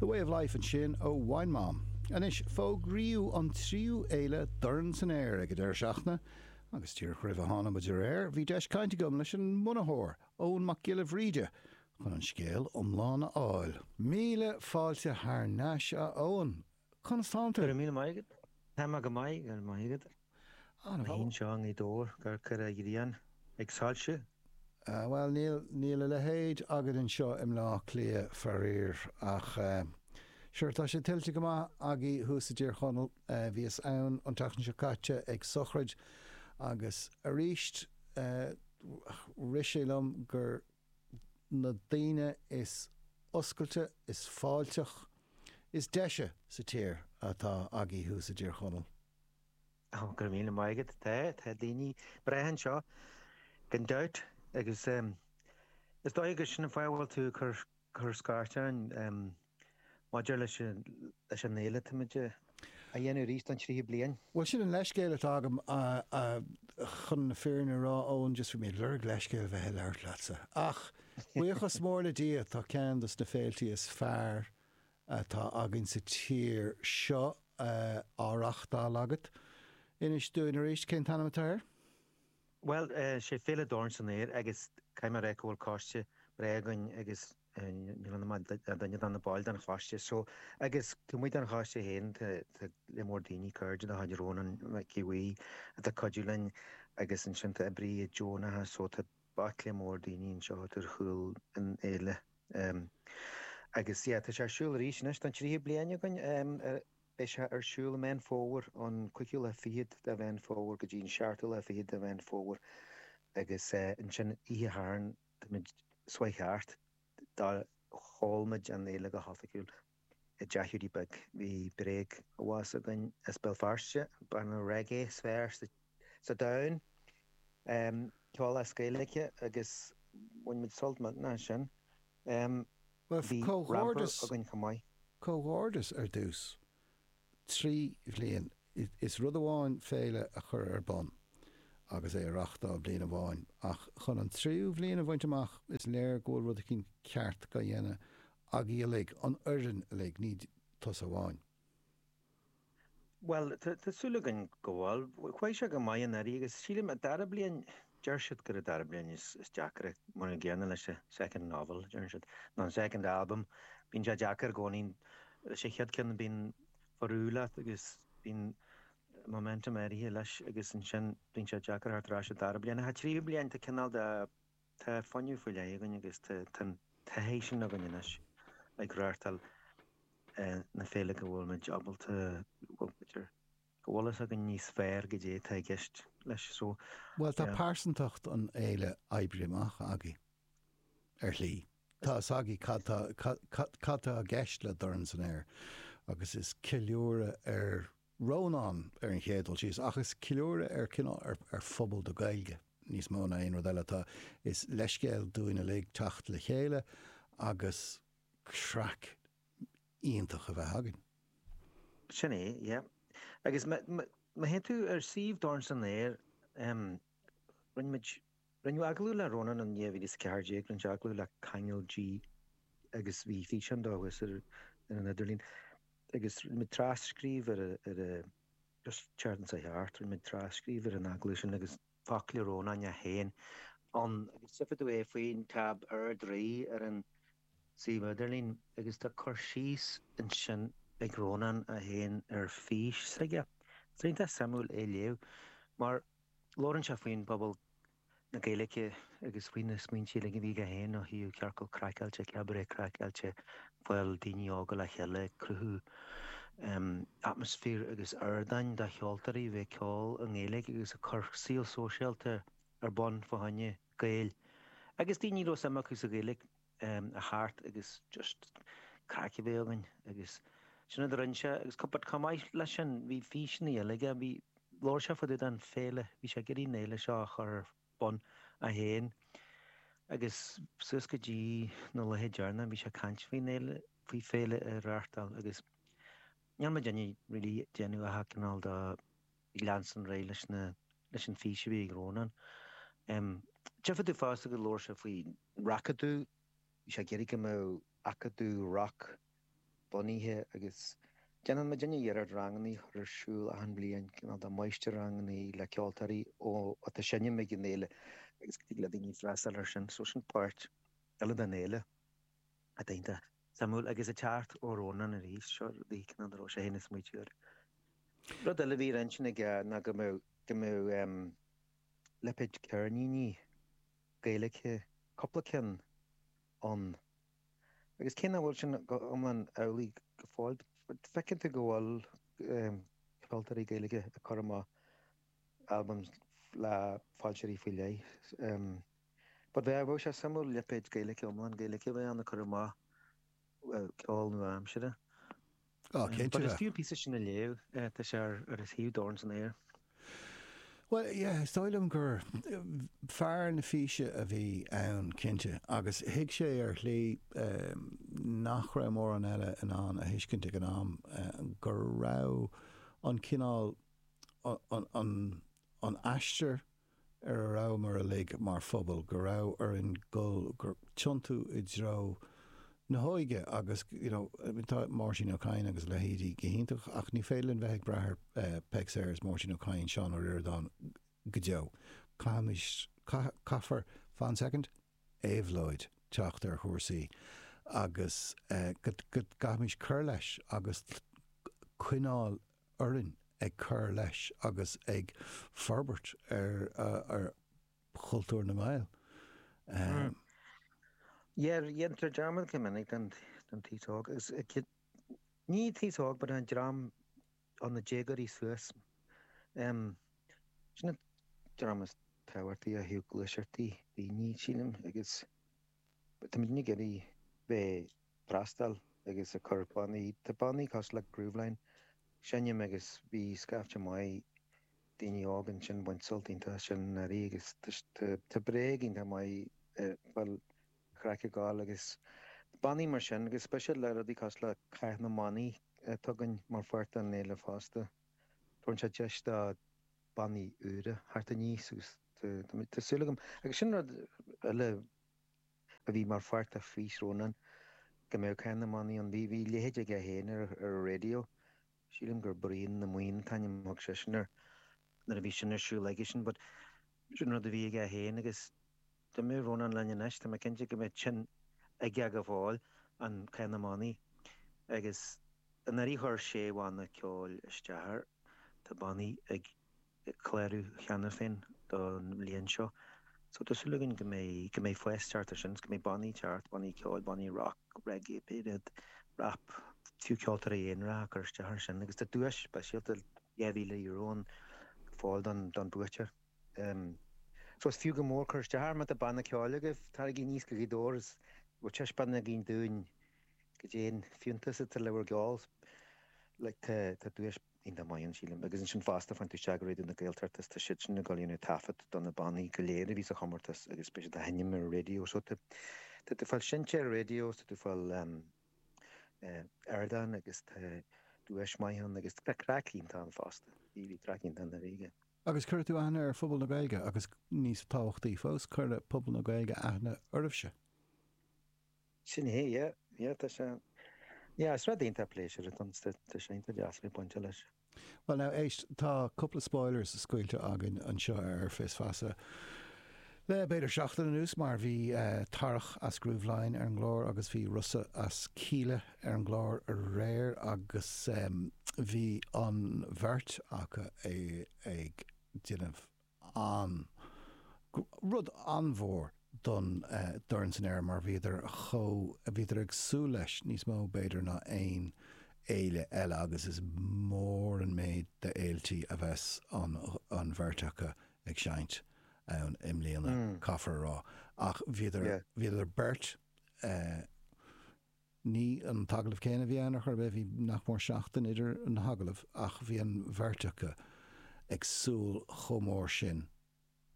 The Way of Life ansin ó Wine Mom. Anois, fógraíodh an tríú fhéile Dorn san Aer ag an deireadh seachtaine agus díreach roimh a tháinig muid ar aer, bhí deis cainte agam leis an mbunaitheoir, Eoin Mac Giolla Bhríde, chun an scéal iomlán a fháil. Míle fáilte thar n-ais, a Eoin. Conas tánn tú? Go raibh míle maith agat. Tá mé go maith, go raibh maith agat. An-mhaith. Anseo i nGaoth Dobhair, ag amharc ar an ghrian ag soilsiú. Bhuel, níl, níl a leithéid againn anseo i mBleá Cliath, faraor, ach sure, tá sé tuillte go maith agaibh thuas i dTír Chonaill. Bhíos ann an tseachtain seo caite ag sochraid agus arís rith sé liom gur na daoine is oscailte, is fáilteach, is deise sa tír atá agaibh thuas i dTír Chonaill. Ó, go raibh míle maith agat. Tá, tá daoine breátha anseo, gan dabht, agus is dóigh gur sin an fáth a bhfuil tú ag cur, cur scairt orainn maidir leis an, leis an fhéile táimid a dhéanamh arís don tríú bliain. Bhuel, sin an leithscéal atá agam, chun na fírinne a rá, Eoin, just bhí mé ag lorg leithscéal a bheith ag labhairt leatsa. Ach, buíochas mór le Dia, tá ceann dos na féiltí is fearr atá againn sa tír seo á reachtáil agat. Inis dúinn arís cén t-ainm atá air? Bhuel, sé Féile Dorn san Aer agus caithfidh mé a rá go bhfuil coiste breá againn agus níl ann ach duine de na baill den choiste so agus taobh amuigh den choiste féin tá lear mór daoine, cairde de chuid Rónán Mhic Aodha Bhuí atá ag cuidiú linn agus ansin tá oibrithe deonacha so tá baicle mór daoine anseo atá ar chúl an fhéile. Agus yeah, tá sé ar siúl arís anois don tríú bliain againn. Beidh sé ar siúl i Meán Fómhair, an cúigiú lá fichead de Mheán Fómhair go dtí an seachtú lá fichead de Mheán Fómhair agus ansin oíche Shathairn táimid ag sórt thart, sheol muid an fhéile go hoifigiúil i dTeach Hiúdaí Beag. Bhí bréagabhás againn as Béal Feirste, banna reggae is fearr sa domhan, ceol as Gaeilge agus bhain muid sult millteanach as sin. Bhuel, Bhí ramper againn chomh maith. Comhghairdeas ar dtús. 3 bhliain. Is rud amháin féile a chur ar bun agus é a reachtáil bliain amháin, ach chun an tríú bhliain a bhaint amach, is léir go bhfuil rud eicínt ceart á dhéanamh agaibh uilig, an fhoireann uilig, ní tusa amháin. Bhuel, tá súil againn go bhfuil. Chuaigh sé go maith anuraidh agus sílim an dara bliain, deir siad gur an dara bliain is deacra, mar an gcéanna leis an second novel, deireann siad, nó an second album. Bíonn sé deacair i gcónaí. Leis an chéad ceann bíonn ború leat agus bíonn momentum áirithe leis agus ansin bíonn sé deacair theacht ar ais an dara bliain. Ach an tríú bliain tá cineál de Tá fuinneamh faoi leith againn agus tá an taithí sin againn anois ag reáchtáil na féile go bhfuil muid ábalta, bhuel, b'fhéidir go bhfuil fhios againn níos fearr goidé atá i gceist leis so. Bhuel, tá pearsantacht an fhéile oibrithe amach agaibh, ar shlí. Tá fhios agaibh cad tá, cad tá i gceist le Dorn san Aer agus is ceiliúradh ar Rónán ar an chéad dul síos, ach is ceiliúradh ar cineál ar ar phobal na Gaeilge níos mó ná aon rud eile atá. Is leithscéal dúinn uilig teacht le chéile agus craic iontach a bheith againn. Sin é, yeah. Agus má théann tú ar suíomh Dorn san Aer, rinne muid, rinneadh agallamh le Rónán in 2014, rinne sé agallamh le Ceangal G agus bhí físeán dó thuas ar an idirlíon. Agus rinne muid tras-scríobh ar ar a just an tseachtain seo thart, rinne muid tras-scríobh ar an agallamh sin agus focla Rónáin é féin ann agus tchífidh tú é faoin tab Ard-Rí ar an suíomh idirlín agus tá cur síos ansin ag Rónán é féin ar fís s'aige. Is iontach suimiúil é léamh mar labhrann sé faoin bpobal na Gaeilge agus faoi na smaointe uilig a bhí aige féin ó thaobh Ciorcal Craiceáilte, Cabaret Craiceáilte, fáil daoine óga le chéile ag cruthú atmaisféar agus ardáin do cheoltóirí a bheith ag ceol i nGaeilge agus ag cur saol sóisialta ar bun fá choinne Gaeil agus daoine a raibh suim acu sa Ghaeilge. a theacht agus just craic a bheith againn agus sin rud a rinne sé agus but chomh maith leis sin bhí físeanna eile aige, bhí, labhair sé fá dtaobh den féile, bhí sé ag iarraidh an fhéile seo a chur ar bun é féin agus suas go dtí na laethe deireanacha bhí sé ag caint faoin fhéile, faoi féile a reáchtáil agus níl muidinne really ag déanamh ach cineál de ag leanstan ar aghaidh leis na, leis an fís a bhí ag Rónán. Tchífidh tú fosta go labhair sé faoi racadamh, bhí sé ag iarraidh go mbeadh acadamh rock. bunaithe agus déanann muidinne iarracht rangannaí a chur ar siúl achan bhliain, cineál de máistir-rangannaí le ceoltóirí ó atá ag seinm ag an fhéile agus go dtig le daoine freastal air sin. So sin páirt eile den fhéile atá iontach suimiúil agus ag teacht ó Rónán arís, seo rudaí cineál a raibh sé féin ag smaoitiú air. Rud eile a bhí ar intinn aige ná go mbeadh go mbeadh lipéad ceirníní Gaeilge, cúpla ceann ann. Agus cé nach bhfuil sin go hiomlán amhlaidh go fóill, feiceann tú go bhfuil ceoltóirí Gaeilge ag cur amach albaim le foilsitheoirí faoi leith. But bheadh sé suimiúil lipéad Gaeilge iomlán Gaeilge a bheith ann ag cur amach ceol nua-aimseartha. Á, cinnte. But is fiú an píosa sin a léamh, tá sé ar ar shuíomh Dorn san Aer. Bhuel, yeah, is dóigh liom gur fear na físe a bhí ann, cinnte, agus thuig sé ar shlí nach raibh mórán eile in ann a thuiscint ag an am, go raibh an cineál, an, an aistear ar a rabhamar uilig mar phobal, go raibh orainn dul, gur tiontú i dtreo na hóige agus you know tá Máirtín Ó Cadhain agus a leithéidí go hiontach ach ní féidir linn bheith ag brath ar Peig Sayers, Máirtín Ó Cadhain, Seán Ó Ríordáin go deo. Caithfimid, caithfear, fan soicind, éabhlóid teacht ar chúrsaí agus go gcaithfimid cur leis agus coinneáil orainn ag cur leis agus ag forbairt ar chultúr na nGael. Yeah, déantar dearmad go minic den t-aos óg agus ní an t-aos óg but an dream ó na déagóirí suas. Sin an dream is tábhachtaí ó thaobh gluaiseachtaí daoine, sílim, agus táimid ag iarraidh bheith freastal agus ag cur bannaí, tá bannaí cosúil le Grooveline ag seinm agus bhí scaifte maith daoine óg ansin ag baint sult iontach as sin anuraidh agus tá bréag iontach maith fáil chraic ag gabháil agus bannaí mar sin agus speisialta le rudaí cosúil le Cath na mBannaí atá againn mar pháirt den fhéile fosta. Tabharann sé deis do bannaí úra theacht aníos agus tá súil agam agus sin rud eile a bhí mar pháirt de fhís Rónán go mbeadh Cath na mBannaí ann. Bhí bhí a leithéid aige féin ar ar an raidió. Sílim gur Bruíon na mBuíon an t-ainm a thug seisean air nuair a bhí sin ar siúl aigesean but sin rud a bhí aige féin agus dá mbeadh Rónán linn anois tá mé cinnte go mbeadh sin aige go fóill, an Cath na mBannaí. Agus anuraidh chuir sé bhanna ceoil isteach air. Tá bannaí ag clárú cheana féin don bhliain seo. So tá súil againn go mbeidh, go mbeidh fás ag teacht ar sin, go mbeidh bannaí ag teacht, bannaí ceoil, bannaí rock, reggae, pé rud, rap, fiú ceoltóirí aonaracha ag cur isteach ar sin agus tá duais speisialta €2,000 ann ar fáil don, don buaiteoir. So is fiú go mór cur isteach air má tá banna ceoil agaibh, taraigí aníos go Gaoth Dobhair is bhfuil taispeáin againn dúinn goidé an fiúntas atá le bhur gceol. Like tá, tá duais iontach maith ann, sílim. Agus ansin fosta, faigheann tú isteach go Raidió na Gaeltachta is tá siadsan ag dul a dhéanamh taifead do na bannaí go léir a bhí sa chomórtas agus beidh siad á sheinm ar an raidió. So tá tá tú ag fáil seinnte ar an raidió, tá tú ag fáil ardán agus tá duais maith ann agus tá craic iontach ann fosta. Bhí bhí craic iontach ann dáiríre. Agus cuirfidh tú aithne ar phobal na Gaeilge agus níos tábhachtaí fós, cuirfidh pobal na Gaeilge aithne oraibhse. Sin é, yeah, yeah, tá sé, yeah, is rud iontach pléisiúr atá ann, tá sé iontach deas a bheith bainte leis. Bhuel now, éist, tá cúpla spoilers scaoilte againn anseo ar Fios Feasa le b'fhéidir seachtain anuas mar bhí Tarach as Grooveline ar an gclár agus bhí Rossa as Kíla ar an gclár aréir agus bhí an bheirt acu ag déanamh an rud an-mhór don Dorn san Aer mar bhíodar chomh, bhíodar ag súil leis níos mó b'fhéidir ná aon fhéile eile agus is mór an méid de fhéiltí a bheas an an bheirt acu ag seinnt ann i mbliana, caithfear a rá. Ach bhíodar, bhíodar beirt, Ní an t-agallamh céanna a bhí ann ar chor ar bith, bhí nach mór seachtain idir na hagallaimh, ach bhí an bheirt acu ag súil chomh mór sin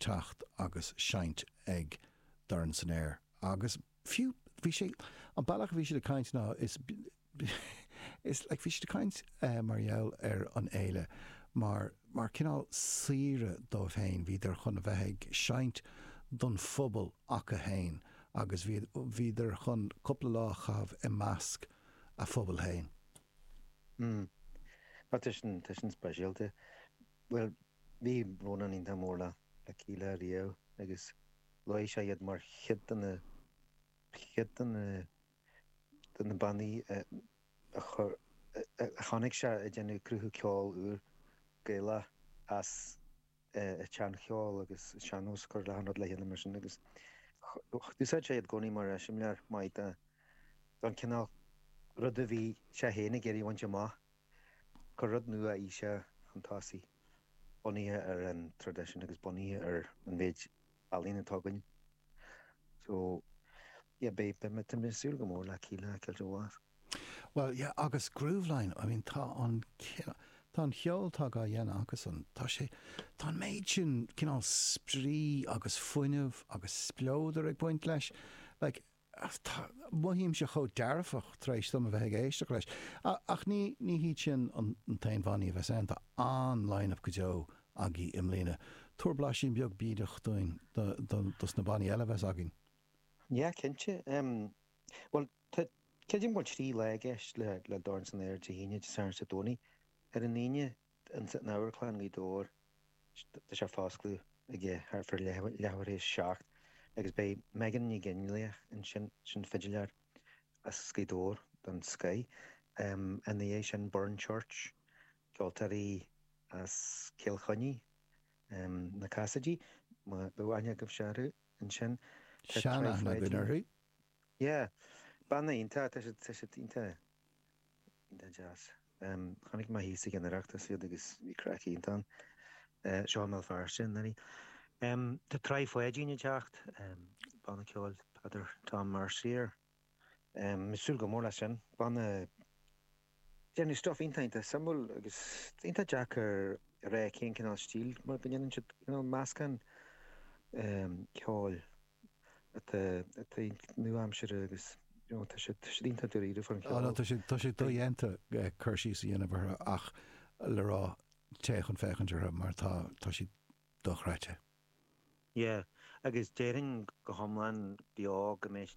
teacht agus seinnt ag Dorn san Aer. Agus fiú, bhí sé, an bealach a bhí siad ag caint ná, is, is, like, bhí siad ag caint mar gheall ar an fhéile mar, mar cineál saoire dóibh féin, bhíodar chun a bheith ag seinnt don phobal acu féin. agus bhíodar chun cúpla lá a chaitheamh i measc a phobal féin. Mm. Tá sin, tá sin speisialta. Bhuel, bhí Rónán iontach mór le, le Kíla riamh agus luaigh sé iad mar chuid de na, chuid de na, de na bannaí a, a chuir, a chonaic sé ag déanamh cruthú ceol úr Gaelach as an tseancheol agus an sean-nós cur le rud le chéile mar sin agus d'úsáid sé iad i gcónaí mar eiseamláir maith de don cineál rud a bhí sé féin ag iarraidh a bhaint amach, cur rud nua-aoiseach chun tosaigh, bunaithe ar an traidisiún agus bunaithe ar an mhéid ealaíon atá againn. So, yeah, beidh, beidh mé, tá mé ag súil go mór le Kíla a fheiceáil beo. Bhuel, yeah, agus Grooveline, I mean, tá an, tá an cheol atá á dhéanamh acusan, tá sé, tá an méid sin cineál spraoi agus fuinneamh agus spleodar ag baint leis, like, tá, mothaímse chomh dearfach tar éis dom a bheith ag éisteacht leis. Ach ní, ní hiad sin an t-aon bhannaí a bheas ann, tá an-line-up go deo agaibh i mbliana. Tabhair blaisín beag bídeach dúinn do, do, dos na bannaí eile a bheas againn. Yeah, cinnte. Bhuel, tá, creidim go bhfuil 3 lá i gceist le, le Dorn san Aer, Dé hAoine, Dé Sathairn is Dé Domhnaigh. Ar an Aoine, ins an Amharclann, Gaoth Dobhair, tá sé fá oscladh ag thart fá leathuair théis 7 agus beidh Megan Ní Gheinleach ansin, sin fidiléir as Gaoth Dobhair den scoith. Ina dhiaidh sin, Burren Church, ceoltóirí as Cill Chainnigh, na Cassidys, má bheadh aithne agaibhse orthu ansin. Tá Sean-aithne againn Pháidín. orthu. Yeah, banna iontach, tá siad, tá siad iontach, iontach deas. Chonaic mé thíos ag an Oireachtas iad agus bhí craic iontach ann. Seo i mBéal Feirste i ndáiríre. Tá Tráigh Pháidín ag teacht, banna ceoil Peadar Tom Mercier. Ag súil go mór leis sin. Banna déanamh stuff iontach iontach suimiúil agus iontach deacair a rá cén cineál stíl mar go ndéanann siad cineál meascán ceoil atá atá nua-aimseartha agus you know tá siad tá siad iontach dáiríre faoin cheol. Tá sé tá sé dodhéanta cur síos a dhéanamh orthu ach le rá téigh chun féachaint orthu mar tá tá siad dochreidte. Yeah agus déarfainn go hiomlán beo go mbeidh.